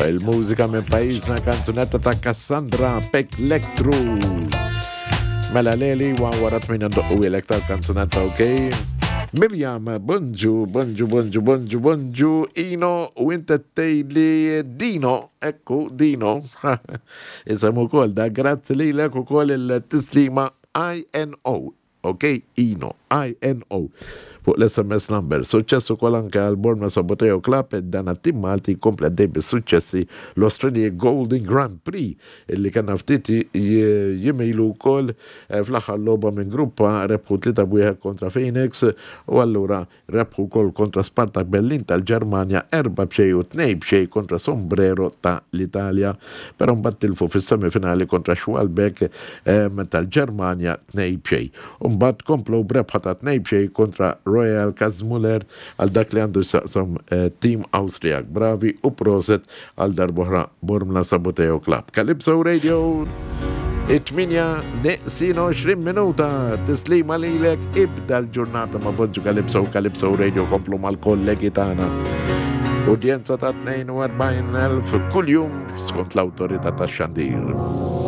Il-mużika minn pajjiżna kanzunetta ta' Cassandra Pek Lektru. Mela Leli, wa wara 8 ndoqqu ilek tal-kanzunetta, ok? Mirjam, bonġu, bonġu, bonġu, bonġu, bonġu, Ino, u inta tgħidli Dino, ekku, Dino. Isem ukoll da, grazzi lilek ukoll il-tislima INO. Ok, Ino, INO, fuq l-SMS number. Suċċess ukoll anke għal Bormla Saboteo Club, dan għat-tim Malti jkompli għaddej bis-suċċessi l-Australia Golden Grand Prix illi kellna ftit jiem ilu wkoll eh, fl-aħħar logħba minn grupp A rebħu 3-1 kontra Phoenix u allura Rebħu wkoll kontra Spartak Berlin tal-Ġermanja 4-0 u 2-0 kontra Sombrero ta' l-Italja, però mbagħad tilfu fis-semifinali kontra Schwalbeck tal-Ġermanja 2-0. U mbagħad komplew b'rebħa ta' 2-0 kontra Royal Kazmuller għal dak li għandu x'jaqsam tim Awstrijak. Bravi u proset Għal darb'oħra Bormla Saboteo Club. Calypso Radio it-8 neqsin 20 minuta tislima lilek ibda l-ġurnata ma' Bonġu Calypso Calypso Radio komplu mal-kollegi tagħna. Udjenza ta' 42,000 kuljum skont l-awtorità tax-xandir.